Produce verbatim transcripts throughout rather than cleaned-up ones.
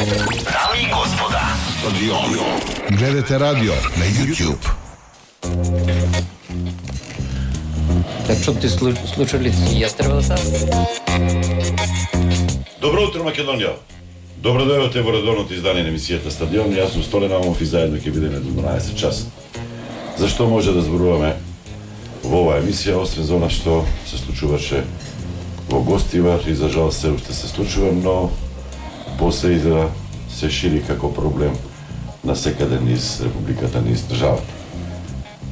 Дами и господа, гледате радио на YouTube. Так што ти слушали, јас треба да сам. Добро утро, Македонија. Добро дојдовте во редовното издание на емисијата Стадион. Јас сум Столен Амов и заедно ќе бидеме до дванаесет часот. Зашто може да зборуваме во оваа емисија, освен за она што се случуваше во Гостивар и за жал се уште се случува, но после изгледа се шири како проблем на секаде низ републиката, низ државата.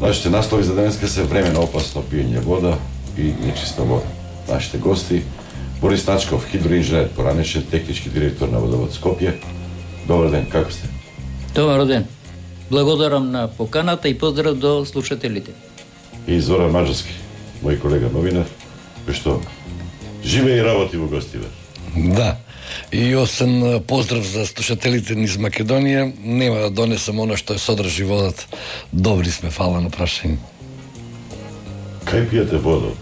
Нашите наслови за денеска се време на опасно пиење вода и нечиста вода. Нашите гости: Борис Начков, хидроинженер, поранешен технички директор на Водовод Скопје. Добар ден, како сте? Добар ден. Благодарам на поканата и поздрав до слушателите. И Зоран Маджарски, мој колега новинар, кој што живее и работи во Гостивар. Да. И освен поздрав за слушателите низ Македонија, нема да донесам оно што е содржи водата. Добри сме, фала на прашање. Кај пијате вода?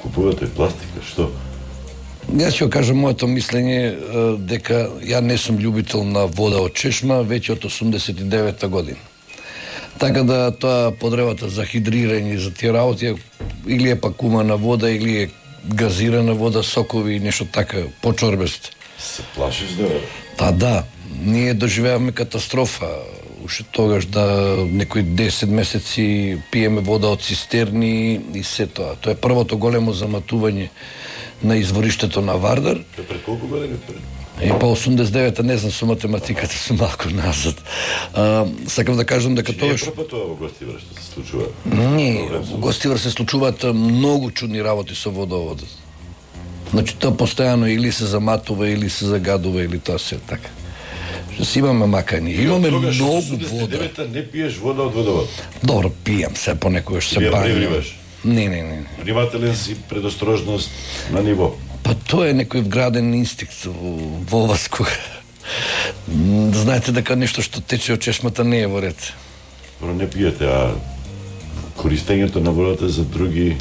Купувате пластика, што? Јас ќе кажам моето мислење дека ја не сум љубител на вода од чешма веќе од осумдесет и девета година. Така да тоа потребата за хидрирање за тие работи или е пак кумана вода или е газирана вода, сокови и нешто така почорбесто. Се плашиш да... Та да, ние доживеавме катастрофа. Уште тогаш да некои десет месеци пиеме вода од цистерни и се тоа. Тоа е првото големо заматување на извориштето на Вардар. Тоа пред колку години пред? И по осумдесет и девета, не знам, со математиката сум малку назад. А, сакам да кажам дека тоа... Што па тоа во Гостивар што се случува? Не, во Гостивар се случуваат многу чудни работи со водоводот. Значи, тоа постојано или се заматува, или се загадува, или тоа се така. Што си имаме макање. Имаме многу вода. осумдесет и девета не пиеш вода од водовод? Добро, пијам се понекогаш се Ја бањам. превриваш? Не, не, не. Внимателен си, предострожност на ниво. Па тоа е некој вграден инстинкт во вас кога. Знаете дека нешто што тече од чешмата не е во ред. Добро, не пиете, а користењето на водата за други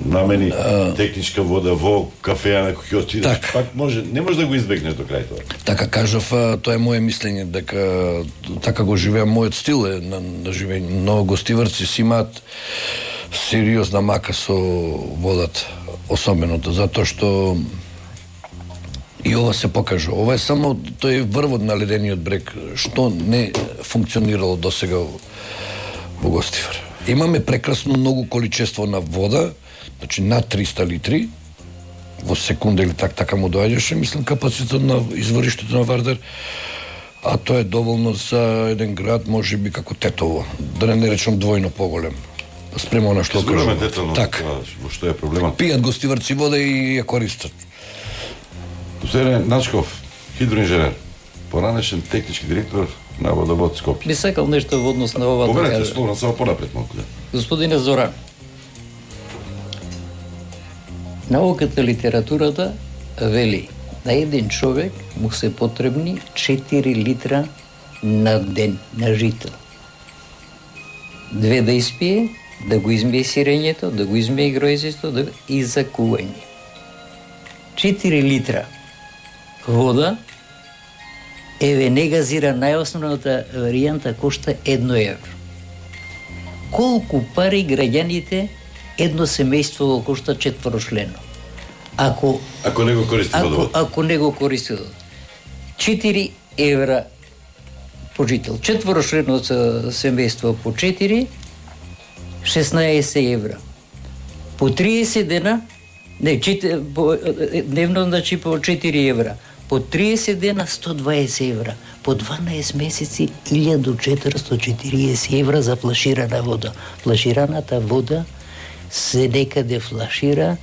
намени, а... техничка вода во кафеа на кој отидеш, так. Пак може, не може да го избегнеш до крај тоа. Така кажав, тоа е мое мислење, дека така го живеам, мојот стил е на, на живење. Но гостиварци си имаат сериозна мака со водата, особеното, затоа што и ова се покажа. Ова е само тој врвот на ледениот брег, што не функционирало досега во Гостивар. Имаме прекрасно многу количество на вода, значи над триста литри во секунда или так така му доаѓаше, мислам, капацитет на извориштето на Вардар, а тоа е доволно за еден град, можеби како Тетово, да не речам двојно поголем. Спрема на што кажуваме. Так. Во што е проблемот? Пијат гостиварци вода и ја користат. Господин Начков, хидроинженер, поранешен технички директор на Водовод Скопје. Би сакал нешто во однос на ова да кажа. кажа. Словно само понапред малку, да. Господине Зоран, науката, литературата вели на еден човек му се потребни четири литра на ден на жител. Две да испие, да го измие сирењето, да го измие гројзисто, да... и за кување. четири литра вода, еве негазира најосновната варијанта кошта едно евро. Колку пари граѓаните едно семејство кошта четворочлено? Ако ако не го користи водовод. Ако, ако не го користи водовод. четири евра по жител. Четворочлено семејство по четири, шеснаесет евра. По триесет дена, не, чет, по, дневно значи по четири евра. По триесет дена сто дваесет евра. По дванаесет месеци илјада четиристо и четириесет евра за флаширана вода. Флашираната вода се некаде флашира,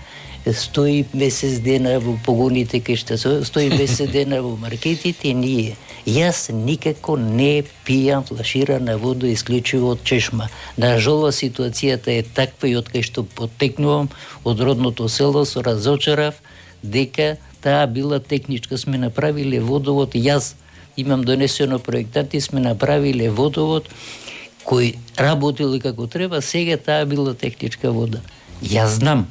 стои месец дена во погоните кај што стои месец дена во маркетите, ние. Јас никако не пијам флаширана вода исклучиво од чешма. На жала ситуацијата е таква и од кај што потекнувам од родното село, со разочарав дека таа била техничка. Сме направиле водовод, јас имам донесено проектанти, сме направиле водовод кој работил како треба, сега таа била техничка вода. Јас знам.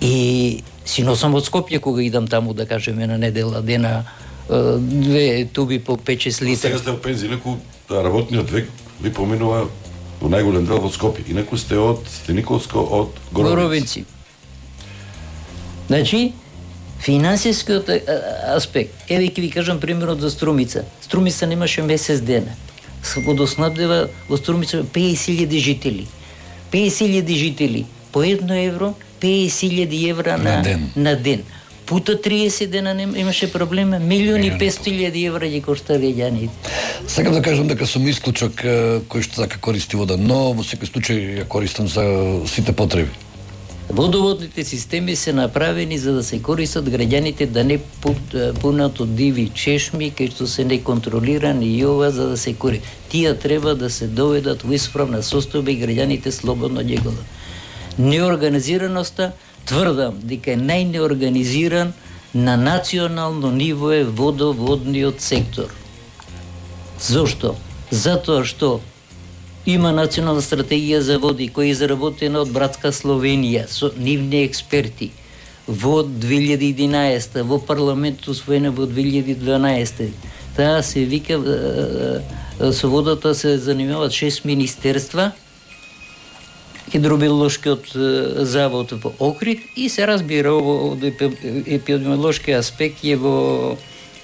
И си носам од Скопје кога идам таму, да кажеме, на недела дена две туби по пет-шест литра. Сега сте во пензија, инаку работниот век ви поминува во најголем дел од Скопје. Инаку сте од Стениковско, од Горовици. Горовици. Значи, финансискиот аспект, еве ќе ви кажам примерот за Струмица. Струмица немаше месец дена. Водоснабдева во Струмица петдесет илјади жители. петдесет илјади жители по едно евро, петдесет илјади евра на, на ден. На ден. Пута триесет дена нем, имаше проблема, милиони и петстотини илјади евра ги кошта граѓаните. Сакам да кажам дека сум исклучок кој што така користи вода, но во секој случај ја користам за сите потреби. Водоводните системи се направени за да се користат граѓаните, да не пунат од диви чешми кај што се неконтролирани и ова за да се користат. Тие треба да се доведат во исправна состојба и граѓаните слободно ги гледат. Неорганизираноста, тврдам дека е најнеорганизиран на национално ниво е водоводниот сектор. Зошто? Затоа што има национална стратегија за води која е изработена од братска Словенија со нивни експерти во две илјади и единаесета, во парламентот усвоена во две илјади и дванаесета. Таа се вика, со водата се занимаваат шест министерства, хидробиолошкиот завод во Охрид и се разбира во епидемиолошки аспект е во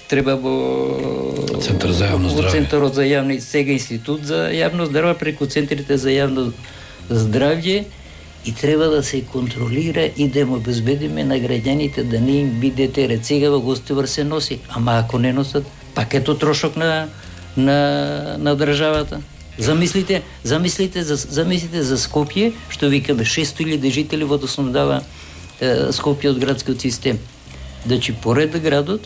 треба во Центар за јавно здравје. Центарот за јавно сега институт за јавно здравје преку центрите за јавно здравје и треба да се контролира и да му обезбедиме на граѓаните да не им биде терет. Сега во Гостивар се носи, ама ако не носат, пак ето трошок на на на државата. Замислите, замислите за замислите за Скопје, што викаме шестстотини илјади жители водоснабдава е, Скопје од градскиот систем. Значи поред градот,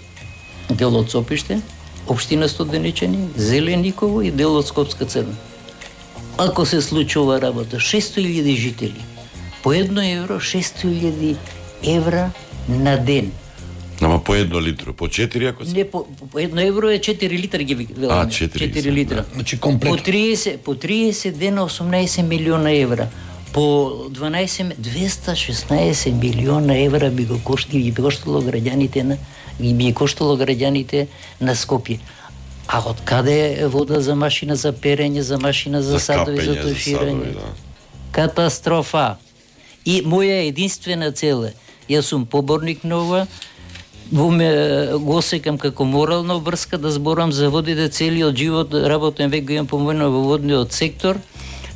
дел од Сопиште, општина Студеничани, Зелениково и дел од Скопска Црна. Ако се случи ова работа, шестстотини илјади жители, по едно евро, шестстотини илјади евра на ден. Ама по едно литро, по четири ако се? Не, по, по едно евро е четири литра ги веламе. А, четири литра. Да. Значи комплет. По триесет, по триесет дена осумнаесет милиона евра. По дванаесет, двеста и шеснаесет милиона евра би го коштало, би коштало граѓаните на би коштало граѓаните на Скопје. А од каде е вода за машина за перење, за машина за, за садови, за туширање? Да. Катастрофа. И моја единствена цел е, јас сум поборник на ова, во ме го осекам како морална обврска да зборам за водите целиот живот, работен век го имам помојно во водниот сектор,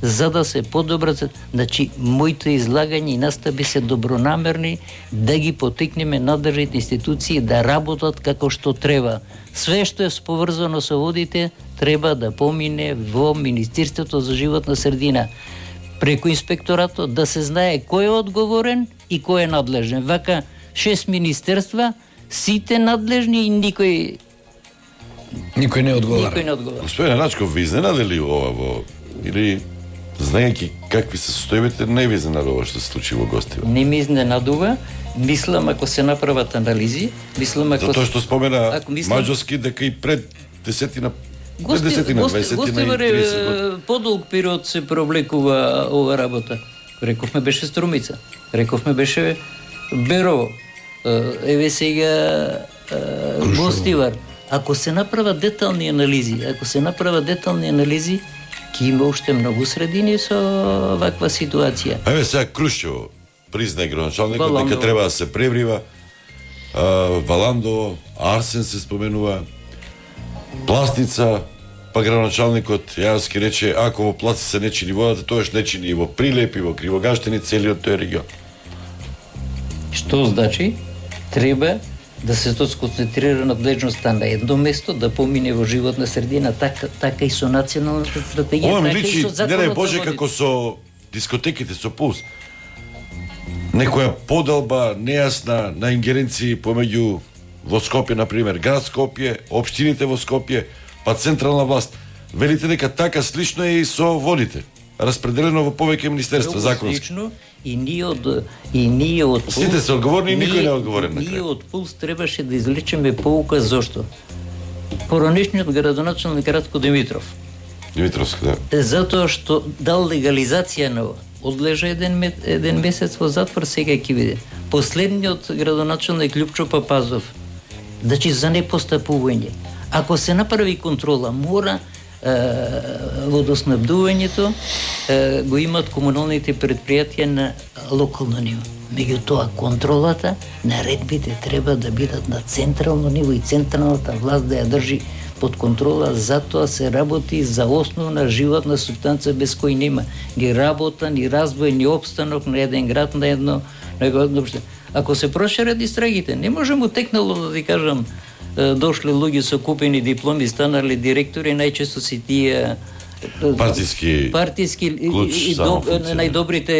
за да се подобрат, значи моите излагања и настави се добронамерни да ги потикнеме надржните институции да работат како што треба. Све што е поврзано со водите треба да помине во Министерството за животна средина. Преку инспекторатот да се знае кој е одговорен и кој е надлежен. Вака шест министерства, сите надлежни и никој никој не одговара. Никој не одговара. Господине Начков, ви изненади ли ова во или знаејќи какви се состојбите, не ви изненадува што се случи во Гостивар? Не ми изненадува, мислам ако се направат анализи, мислам ако затоа што спомена ако мислам... Маđarски дека и пред десетина Гости, пред десетина, гости, дваесетина Гостивар и тридесет години. Подолг период се провлекува ова работа. Рековме беше Струмица, рековме беше Берово, еве сега Гостивар. Ако се направат детални анализи, ако се направат детални анализи, ќе има уште многу средини со ваква ситуација. Еве сега Крушево признае градоначалникот дека треба да се преврива, Валандово, Арсен се споменува, Пластница, па градоначалникот Јарски рече ако во Пластница се не чини водата, тоаш не чини и во Прилеп и во Кривогаштини, целиот тој регион. Што значи? Треба да се сконцентрира надлежноста на едно место, да помине во животна средина, така, така и со националната стратегија. Ова ми така личи, не дај Боже, како со дискотеките, со пулс. Некоја поделба нејасна на ингеренции помеѓу во Скопје, например, град Скопје, општините во Скопје, па централна власт. Велите дека така слично е и со водите, распределено во повеќе министерства законски. Слично, и ние од и ние од Пулс, сите се одговорни и никој не е одговорен на крај. Ние од Пулс требаше да извлечеме поука зошто. Поранешниот градоначалник Радко Димитров. Димитровски, да. Затоа што дал легализација на ова. Одлежа еден, еден месец во затвор, сега ќе види. Последниот градоначалник Љупчо Папазов Значи за непостапување. Ако се направи контрола, мора е, водоснабдувањето е, го имат комуналните предпријатија на локално ниво. Меѓутоа, контролата, наредбите треба да бидат на централно ниво и централната власт да ја држи под контрола, затоа се работи за основна животна субстанца без кој нема ни работа, ни развој, ни обстанок на еден град, на едно, на едно општење. Ако се прошират истрагите, не можем утекнало да ви кажам, дошли луѓе со купени дипломи, станали директори, најчесто си тие партиски партиски клуч, и, и, и најдобрите